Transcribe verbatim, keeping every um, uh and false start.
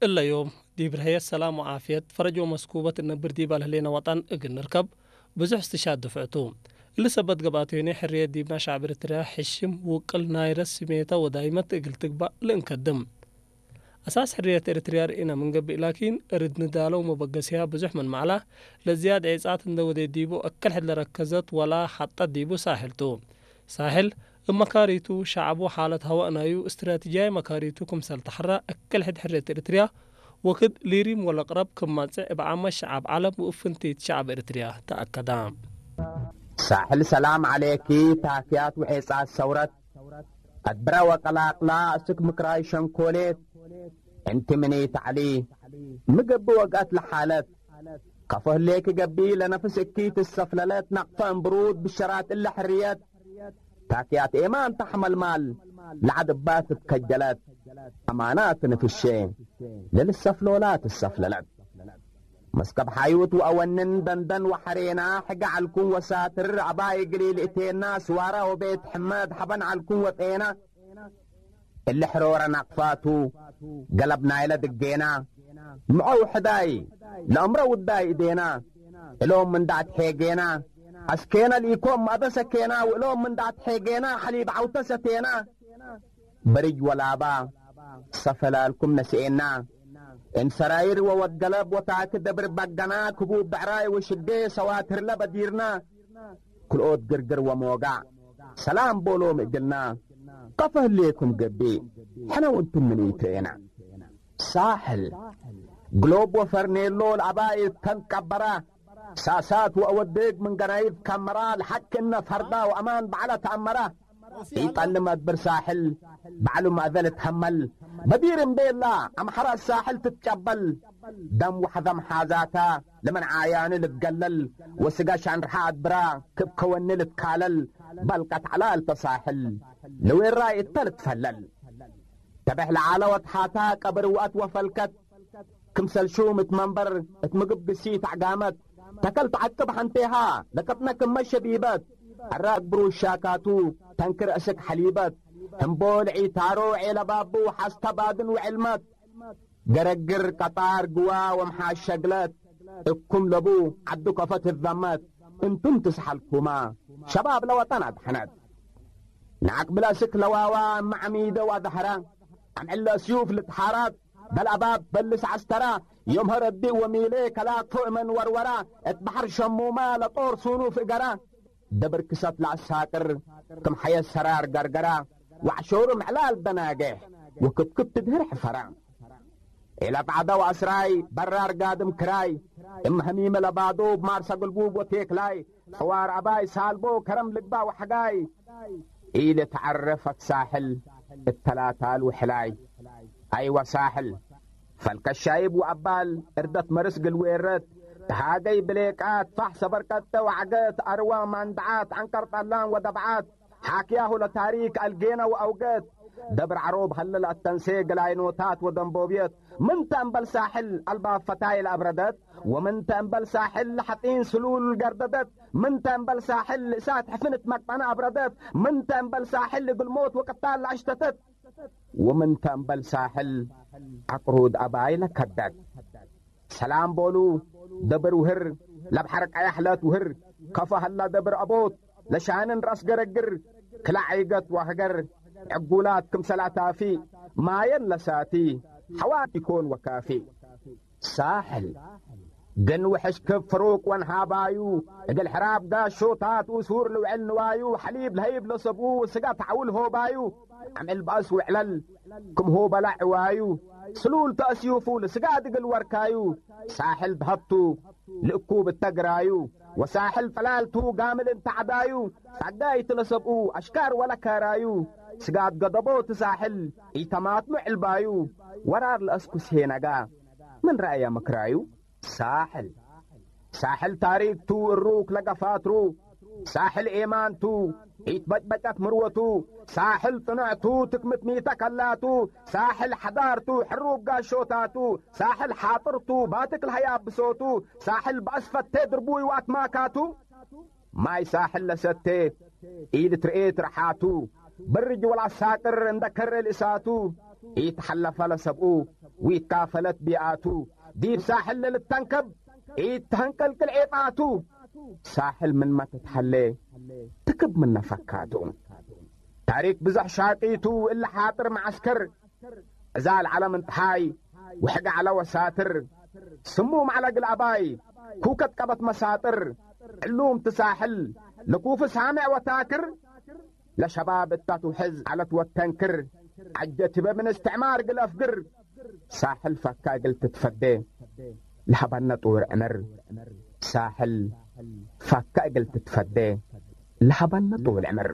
እለ ዮም፣ ዲብ ርሀየት ሰላም ወዓፍየት፣ ፈረጅ ወመስኩበት እነብር ዲብ አልህሌነ ወጠን እግል ንርከብ፣ ብዙሕ እስትሻድ ድፍዕቱ። እሊ ሰበት ገብአት ዮኔ፣ ሕርየት ዲብና ሸዕብ ኤሪትርያ ሕሽም፣ ውቅል፣ ናይረት፣ ስሜተ ወዳይመት እግል ትግባእ ልእንከድም። አሳስ ሕርየት ኤሪትርያ ርኢነ ምን ገብእ ላኪን፣ እርድ ንዳለው መበገስያ ብዙሕ ምን መዕላ፣ ለዝያድ ዔጻት እንደ ወዴት ዲቡ እክል ሕድ ለረከዘት ወላ ሐጠት ዲቡ ሳሕል ቱ። ሳሕል፣ እብ መካሪቱ፣ ሸዐቡ፣ ሓለት ሀዋእ ናዩ፣ እስትራቲጅያይ መካሪቱ ክምሰል ተሐራ፣ እክል ሕድ ሕርየት ኤሪትርያ ወክድ ሊሪም ወለቅረብ ክም መጽእ እብ ዓመት ሸዐብ ዐለም ወእብ ፍንቲት ሸዐብ ኤሪትርያ ተአከዳ። ሳሕል ሰላም ዐሌኪ፣ ታክያት ወዔጻት ሰውረት፣ አድብረ ወቀላቅላ፣ እስክ ምክራይ ሸንኮሌት፣ እንቲ ምኒት ዐሊ፣ ሚ ገብእ ወግአት ለሓለት፣ ከፎ ህሌኪ ገብእ ለነፍስ እኪ ትሰፍለለት፣ ነቅፈ እምብሩድ ብሸራት እለ ሕርየት፣ ታክያት ኤማን ተሐመልማል፣ ለዐድ እባ ትትከጀለት፣ አማናት ንፍሼ ለልሰፍሎላ ትሰፍለለት። መስከብ ሓዩት ወአወንን ደንደን ወሐሬና፣ ሕገ ዐልኩም ወሳትር አባይ እግል ኢልእቴና፣ ስዋራ ወቤት ሕመድ ሐበን ዐልኩም ወጤና፣ እሊ ሕሮረ ናቅፋቱ ገለብ ናይለ ድጌና፣ ምዐው ሕዳይ ለአምረ ውዳይ እዴና፣ እሎም ምን ዳዕት ሔጌና፣ አስኬነ ልኢኮም ማእበ ሰኬና፣ ወእሎም ምን ዳዕት ሔጌና፣ ሐሊብ ዐውተ ሰቴና፣ በርጅ ወላባ ሰፈላልኩም ነስኤና፣ እም ሰራይር ወወድ ገለብ ወታክ ደብር በገና፣ ክቡብ ብዕራይ ወሽዴ ሰዋትርለ በዲርና፣ ክልኦት ግርግር ወሞጋዕ ሰላም ቦሎም እግልና፣ ከፈ ህሌኩም ገብእ፣ ሕነ ወእንቱም ምን ኢትሬና። ሳሕል፣ ግሎብ ወፈርኔሎ ለአባይ ተንቀበራ፣ ሳሳት ወአወድግ ምን ገናይፍ ከመራ፣ ለሐቅ እነ ፈርዳ ወአማን በዐለ ተአመራ። ኢጠልም አድብር ሳሕል በዐሉ ማእዘል እትሀመል፣ በዲር እምቤላ አምሐራት ሳሕል ትትጨበል፣ ደም ወሐዘም ሓዛታ ለምን ዓያኑ ልትገለል፣ ወስጋ ሻንርሓ አድብራ ክብ ከወኒ ልትካለል፣ በልቀት ዐላልተ ሳሕል ለዌራይ እተ ልትፈለል። ተበሕ ለዓለ ወትሓታ ቀብር ወአት ወፈልከት፣ ክምሰል ሹም እት መንበር እት ምግብ ግሲት አዕጋመት፣ ተከል ተዐቅብ ሐንቴሃ ለቀጥነ ክመ ሸቢበት፣ አራግ ብሩሽ ሻካቱ ተንክር እስክ ሐሊበት፣ ህምቦል ዒታሮ ዔለ ባቡ ሐስተ ባድን ወዕልመት፣ ገረግር ቀጣር ግዋ ወምሓሸግለት፣ እኩም ለቡ ዐዱ ከፈ ትዘመት፣ እንቱም ትስሐልኩማ ሸባብ ለወጠን አድሐነት። ነዐቅብለ እስክ ለዋዋ እመ ዐሚደ ወአድሀራ፣ አምዕለ ስዩፍ ልትሓራት፣ በል አባብ በልስ ዐስተራ፣ ዮም ሀረዲእ ወሚሌ ከላክፎ እመን ወርወራ፣ እት በሐር ሸሙማ ለጦር ሱኑፍ እገራ፣ ደብር ክሰት ለአሳቅር ክም ሐየት ሰራር ገርገራ፣ ወዐሾሩ ምዕላል ደናጌሕ ወክብክብ ትድህር ሕፈራ። ዔለ ጸዕደ ወአስራይ በራር ጋድም ክራይ፣ እም ሀሚመ ለባዶብ ማርሰ ግልቡብ ወቴክላይ፣ ጽዋር አባይ ሳልቦ ከረም ልግባእ ወሐጋይ፣ ኢልትዐረፈት ሳሕል እተላታል ወሕላይ። አይወ ሳሕል፣ ፈልከ ሻይብ ወአባል እርደት መርስ ግልዌረት፣ ተሃገይ ብሌቃት ፋሕ ሰበርቀጠ ወዐገት፣ አርዋ ማንድዓት ዐንቀር ጠላን ወደብዓት፣ ሓክያሁ ለታሪክ አልጌነ ወአውገት፣ ደብር ዐሮብ ሀለ ለአተንሴ ገላይኖታት ወደንቦብየት፣ ምንተ እምበል ሳሕል አልባብ ፈታይ ለአብረደት፣ ወምንተ እምበል ሳሕል ለሐጢን ስሉል ገርደደት፣ ምንተ እምበል ሳሕል እሳት ሕፍን እት መቅጠነ አብረደት፣ ምንተ እምበል ሳሕል እግል ሞት ወቅታል ለአሽተተት፣ ወምንተ እምበል ሳሕል ዐቅሩድ አባይ ለከደት። ሰላም ቦሉ ደብር ውህር፣ ለብሐር ቀያሕ ለትውህር፣ ከፎ ሀላ ደብር አቦት፣ ለሻንን ረአስ ገረግር፣ ክላዕ ዒገት ወሀገር፣ ዕጉላት ክምሰል አታፊ፣ ማየን ለሳቲ፣ ሐዋት ኢኮን ወካፊ። ሳሕል፣ ግን ውሕሽ ክብ ፍሩቅ ወንሃባዩ፣ እግል ሕራብ ጋሾታት ኡሱር ልውዕል ንዋዩ፣ ሐሊብ ለሀይብ ለሰብኡ፣ ስጋ ተዐውል ሆባዩ፣ አምዕል በአስ ውዕለል ክም ሆበላ ዕዋዩ፣ ስሉል ተአስዩፉ ለስጋድ እግል ወርካዩ፣ ሳሕል ደሀብቱ ልእኩብ እተ ግራዩ፣ ወሳሕል ጥላልቱ ጋምል እንተ ዐዳዩ፣ ጸጋይቱ ለሰብኡ አሽካር ወለካራዩ፣ ስጋድ ገደቦቱ ሳሕል ኢተማትኑ ዕልባዩ፣ ወራር ለአስኩስ ሄነጋ ምን ረአየ ምክራዩ። ሳሕል፣ ሳሕል ታሪክ ቱ እሩክ ለገፋትሩ፣ ሳሕል ኤማን ቱ ኢትበጭበጨት ምርወቱ፣ ሳሕል ጽኑዕ ቱ ትክምት ሚተ ከላቱ፣ ሳሕል ሐዳር ቱ ሕሩብ ጋሾታቱ፣ ሳሕል ሓጥር ቱ ባትክ ለሀያብ ብሶቱ፣ ሳሕል በአስፈቴ ድርቡይ ወአትማካቱ፣ ማይ ሳሕል ለሰቴ ኢልትርኤት ረሓቱ፣ ብርጅ ወለአሳቅር እንደ ከሬ ልእሳቱ፣ ኢተሐለፈ ለሰብኡ፣ ወኢትካፈለት ቢኣቱ፣ ዲብ ሳሕል ለልተንከብ፣ ኢተሀንቀልቅል ዔጣቱ። ሳሕል ምንመ ትትሀሌ፣ ትክብ ምነ ፈካቱ። ታሪክ ብዘሕ ሻቂቱ፣ እለ ሓጥር መዐስከር፣ ዕዛል ዐለ ምን ተሓይ፣ ወሕግ ዐለ ወሳትር። ስሙም ዐለ እግል አባይ፣ ኩከት ቀበት መሳጥር። ዕሉም ትሳሕል፣ ለኩፍ ሳምዕ ወታክር። ለሸባብ እታ ትውሕዝ ዐለት ወተንክር፣ ዐጀቲበ ምን እስትዕማር እግል አፍግር። ሳሕል ፈካ እግል ትትፈዴ፣ ለሀበነ ጥውል ዕምር። ሳሕል ፈካ እግል ትትፈዴ፣ ለሀበነ ጥውል ዕምር።